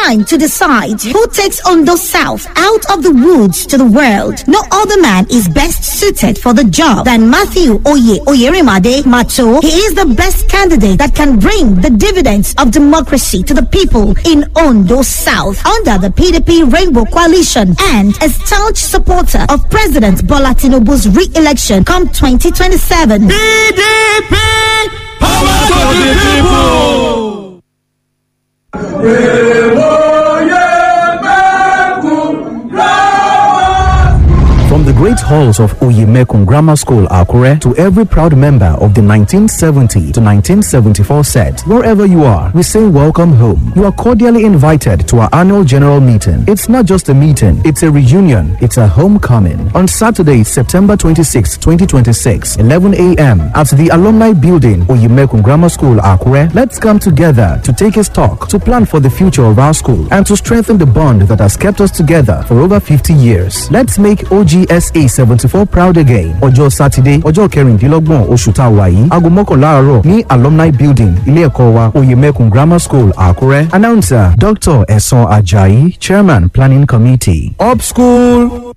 time to decide who takes Ondo South out of the woods to the world. No other man is best suited for the job than Matthew Oye Oyerimade Mato. He is the best candidate that can bring the dividends of democracy to the people in Ondo South under the PDP Rainbow Coalition and a staunch supporter of President Bola Tinubu's re-election come 2027. PDP! Power to the people! From the great halls of Oyemekun Grammar School, Akure, to every proud member of the 1970 to 1974 set, wherever you are, we say welcome home. You are cordially invited to our annual general meeting. It's not just a meeting, it's a reunion, it's a homecoming. On Saturday, September 26, 2026, 11 a.m., at the Alumni Building, Oyemekun Grammar School, Akure, let's come together to take a stock, to plan for the future of our school, and to strengthen the bond that has kept us together for over 50 years. Let's make OGSA 74 proud again. Ọjọ́ Sátidé, ọjọ́ kẹrìndínlọ́gbọ̀n oṣù tá a wà yìí, aago mọ́kànlá àárọ̀ ní Alumni Building, ilé ẹ̀kọ́ wa, Oyemekun Grammar School, Àkúrẹ́. Announcer Dr. Ẹ̀sán Ajayi, Chairman Planning Committee. Up school.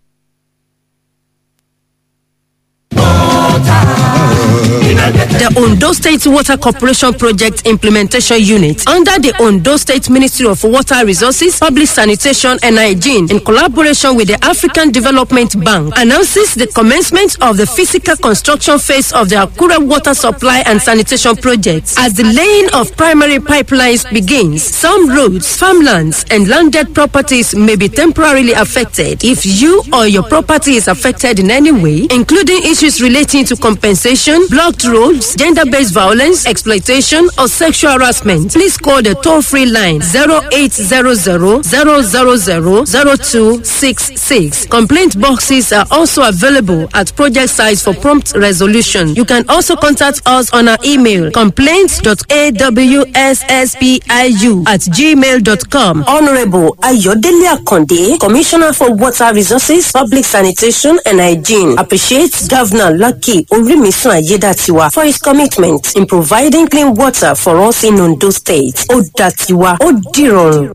The Ondo State Water Corporation Project Implementation Unit under the Ondo State Ministry of Water Resources, Public Sanitation and Hygiene in collaboration with the African Development Bank announces the commencement of the physical construction phase of the Akure Water Supply and Sanitation Project. As the laying of primary pipelines begins, some roads, farmlands and landed properties may be temporarily affected. If you or your property is affected in any way, including issues relating to compensation, blocked roads, gender-based violence, exploitation, or sexual harassment, please call the toll-free line 0800 000 0266. Complaint boxes are also available at project sites for prompt resolution. You can also contact us on our email complaints.awsspiu at gmail.com. Honorable Ayodele Akonde, Commissioner for Water Resources, Public Sanitation and Hygiene, appreciates Governor Lucky Orimisun Ayedatiwa for his commitment in providing clean water for us in Ondo State. Ó dàtiwa, ó dìrọ̀rùn.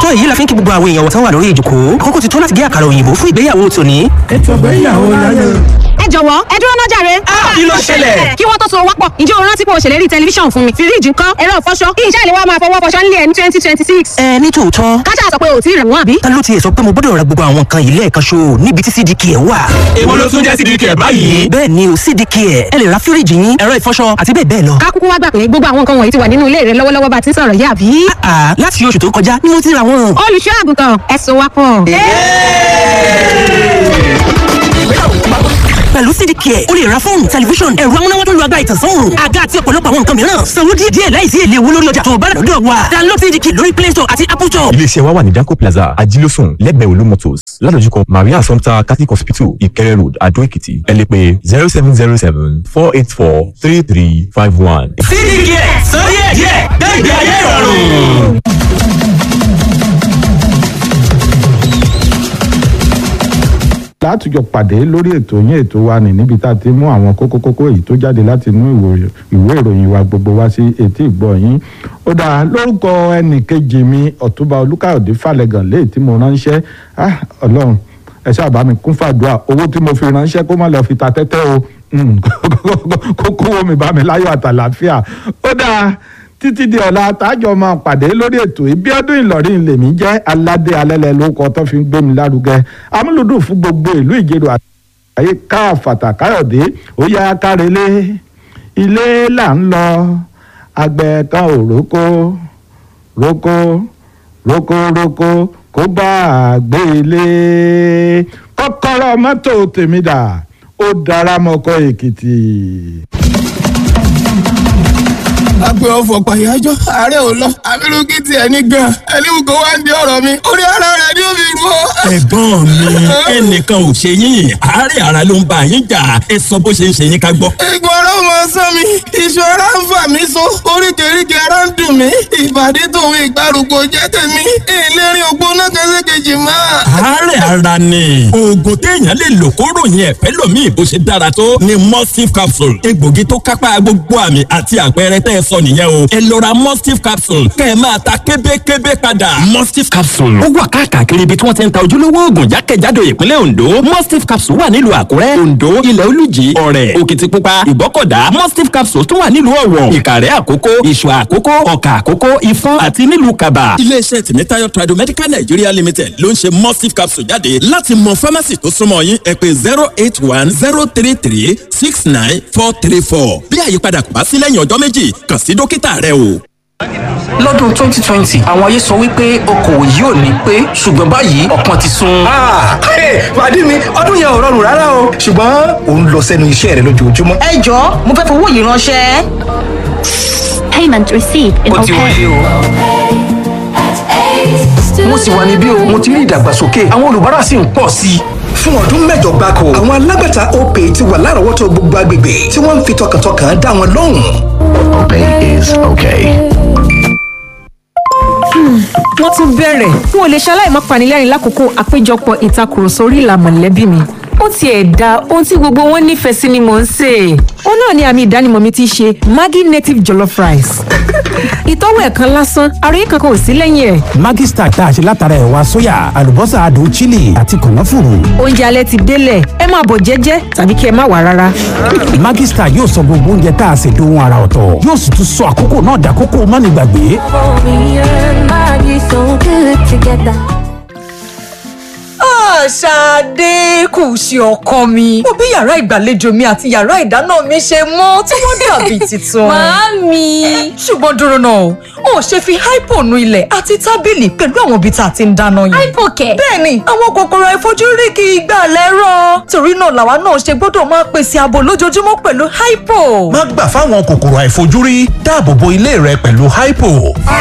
Tó èyí la fi ń kí gbogbo àwọn èèyàn wọ̀tán wà lórí ìjòkó. Àkókò ti tó láti gé àkàrà òyìnbó fún ìgbéyàwó tòní. Ètò ìgbéyàwó láyé. Ẹ jọ̀wọ́, ẹ dúró náà jàre. Kí ló ṣẹlẹ̀? Kí wọ́n tó so wápọ̀, ǹjẹ́ o rántí pé o ṣèlérí tẹlifíṣàn fún mi? Fíríjì ńkọ́? Ẹ̀rọ ìfọṣọ? Kí iṣẹ́ ìléwọ́ máa fọwọ́ fọṣọ nílé ẹ̀ ní 2026? Ẹ ní tòótọ́. Káṣá sọ pé o ti rẹ̀ wọ́n àbí? Ta ló tiẹ̀ sọ pé mo gbọ́dọ̀ ra gbogbo àwọn nǹkan yìí lẹ́ẹ̀kan ṣo níbi tí CDK ẹ̀ wà? Èwo ló tún jẹ́ CDK báyìí? Bẹ́ẹ̀ ni o, CDK ẹ̀. Ẹ lè ra fíríjì yín, ẹ̀rọ ìfọṣọ àti bẹ́ẹ̀ bẹ́ẹ̀ lọ. Ká kúkú wá gbà pé gbogbo àwọn nǹkan wọ̀nyí ti wà nínú ilé rẹ lọ́wọ́lọ́wọ́ bá ti ń sọ̀rọ̀ yìí, àbí? Àà, láti oṣù tó kọjá ni mo ti ra wọn. Olùṣọ́ àgùntàn, ẹ so wá pọ̀. Pẹ̀lú CDK, o lè ra fóònù, tẹlifíṣàn, ẹ̀rọ amúnáwá tó lu agbára ìtànsán òòrùn, àga àti ọ̀pọ̀lọpọ̀ àwọn nǹkan mìíràn. Sanwó díẹ̀ díẹ̀ láìsí èlé owó lórí ọjà tó o bá rà lọ́dọ̀ wa. Download CDK lórí Play Store àti Apple Store. Iléeṣẹ́ wa wà ní Danco Plaza, Ajílósùn, lẹ́gbẹ̀ẹ́ Olú Motors, ládojúkọ Maria Assumpta Catholic Hospital, Ìkẹrẹ Road, Adó Èkìtì. Ẹ lè pè 0707 484 3351. CDK sọ díẹ̀ díẹ̀ gbẹ̀gbẹ̀ ayé ìrọ̀rùn. Látùjọ pàdé lórí ètò yín, ètò wa ní níbi tá a ti mú àwọn kókó kókó èyí tó jáde láti inú ìwé ìròyìn wa gbogbo wá sí etí ìgbọ́ yín. Ó dáa, lórúkọ ẹnì kejì mi, Ọ̀túnba Olúkáyọ̀dé Falẹ̀gàn, léyìí tí mo ránṣẹ́. Ah, Ọlọ́run, ẹ ṣáà bá mi kún fàdúrà, owó tí mo fi ránṣẹ́ kó má lọ fi ta tẹ́tẹ́ o, kó kówó mi bá mi láyọ̀ àtàlàáfíà. Ó dáa, títí di ọ̀la tájọ máa pàdé lórí ètò Ìbíọ́dún Ìlọrin, lèmi jẹ́ aládé alẹ́lẹ́ lórúkọ tó fi ń gbé mi lárugẹ, amúlùdùn fún gbogbo ìlú Ìjẹ̀rò àyè káfàtà. Káyọ̀dé, ó yá, kárelé ilé là ń lọ. Àgbẹ̀ kan ò rókó rókó rókó rókó kó bá a gbé ilé. Kọ́kọ́rọ́ mọ́tò tèmi dà, ó dára mọ́kọ́ Èkìtì. Agbe ọfọ pàyájọ, ààrẹ ò lọ, àbírú kí tiẹ̀ ní gan. Ẹni wù kó wá ń di ọ̀rọ̀ mi, orí ara rẹ̀ ni ó fi rú ọ. Ẹ̀gbọ́n mi, ẹnìkan ò ṣe yín, àárẹ̀ ara ló ń bá yín jà. Ẹ sọ bó ṣe ń ṣe yín ká gbọ́. Ìgbọ̀n ọ̀rọ̀ mọ sán mi, iṣan ara ń fà mí so, oríkèéríkèé ara ń dùn mí, ìbàdí tòun ìgbàrúgbó jẹ́ tèmi, ìlérí ògbóná kẹsẹ̀kejì máa. Àárẹ̀ ara ni oògùn téèyàn lè lò kó ròyìn ẹ̀fẹ́ lòmíì bó ṣe dára tó ni Mustif capsule, egbògi tó kápá gbogbo àmì àti àpẹẹrẹ tẹ́ ẹ sọ nìyẹn o. Ẹ lọ ra Mustif capsule kẹ́ ẹ máa ta kébékébé padà. Mustif capsule ó wà káàkiri ibi tí wọ́n ti ń ta ojúlówó oògùn jákèjádò ìpínlẹ̀ Ondo. Mustif capsule wà nílùú Àkúrẹ́, Ondo, Ilẹ̀ Olújì, Ọ̀rẹ̀, Òkìtìpupa, Ìgbọ́kọ̀dá. Mustif capsule tún wà nílùú Ọ̀wọ̀, Ìkàrẹ́ Àkókó, Ìṣọ̀ Àkókó, Ọ̀kà Àkókó, Ìfọ̀n àti nílùú Kàbà. Iléeṣẹ́ Tìmítayọ̀ Tradomedical Nigeria Limited ló ń ṣe Mustif capsule jáde. Láti mọ fámásì tó súnmọ́ yín, ẹ pè 08103369434. Bí àyípadà kò bá sí lẹ́yìn ọjọ́ 2, kàn sí dókítà rẹ o. Lọ́dún 2020, àwọn ayé sọ wípé okòwò yìí ò ní pé, ṣùgbọ́n báyìí ọ̀pọ̀ ti sun. Pàdé mi, ọdún yẹn ò rọrùn rárá o, ṣùgbọ́n ò ń lọ sẹ́nu iṣẹ́ rẹ lójoojúmọ́. Ẹ jọ̀ọ́, mo fẹ́ fowó yìí ránṣẹ́. Payment received in Ó ti wọlé o. Mo sì wà níbí o, mo ti rí ìdàgbàsókè, àwọn olùbárà sì ń pọ̀ sí i. Fún ọdún 8 gbáko, àwọn alágbàtà Opay ti wà lárọ̀ọ́wọ́tó gbogbo agbègbè tí wọ́n ń fi tọkàntọkàn dá wọn lóhùn. Opay is okay. Wọ́n tún bẹ̀rẹ̀. N ò lè ṣaláì má panilẹ́rìn lákòókò àpéjọpọ̀ ìtakùrọ̀sọ orí ìlà mọ̀lẹ́bí mi. Ó tiẹ̀ da ohun tí gbogbo wọn nífẹ̀ẹ́ sí ni mò ń sè é. Ó náà ni àmì ìdánimọ̀ mi ti ṣe Maggi native jollof rice. Ìtọ́wò ẹ̀kan lásán, àròyé kankan ò sí lẹ́yìn ẹ̀. Maggi Star tá a ṣe látara ẹ̀wà sóyà, àlùbọ́sà adùn chili àti kànáfùrù. Oúnjẹ alẹ́ ti délẹ̀, ẹ máa bọ̀ jẹ́jẹ́ tàbí kí ẹ má wà rárá. Maggi Star yóò sọ gbogbo oúnjẹ tá a ṣe dohun ara ọ̀tọ̀, yóò sì tún sọ àkókò náà dàkókò mánigbàgbé. Ṣadé kù sí ọkọ mi. Mo bí yàrá ìgbàlejò mi àti yàrá ìdáná mi ṣe mọ́ tí wọ́n dàbí tuntun. Màámi. Ṣùgbọ́n dúró náà o, ò ṣe fi hypo nu ilẹ̀ àti tábìlì pẹ̀lú àwọn ibi tá a ti ń dáná yẹn. Hypo kẹ̀. Bẹ́ẹ̀ni, àwọn kòkòrò àìfojúrí kì í gbà lẹ́rọ̀. Torí náà làwa náà ṣe gbọ́dọ̀ máa pèsè ààbò lójoojúmọ́ pẹ̀lú hypo. Má gbà fáwọn kòkòrò àìfojúrí, dáàbò bo ilé rẹ pẹ̀lú hypo.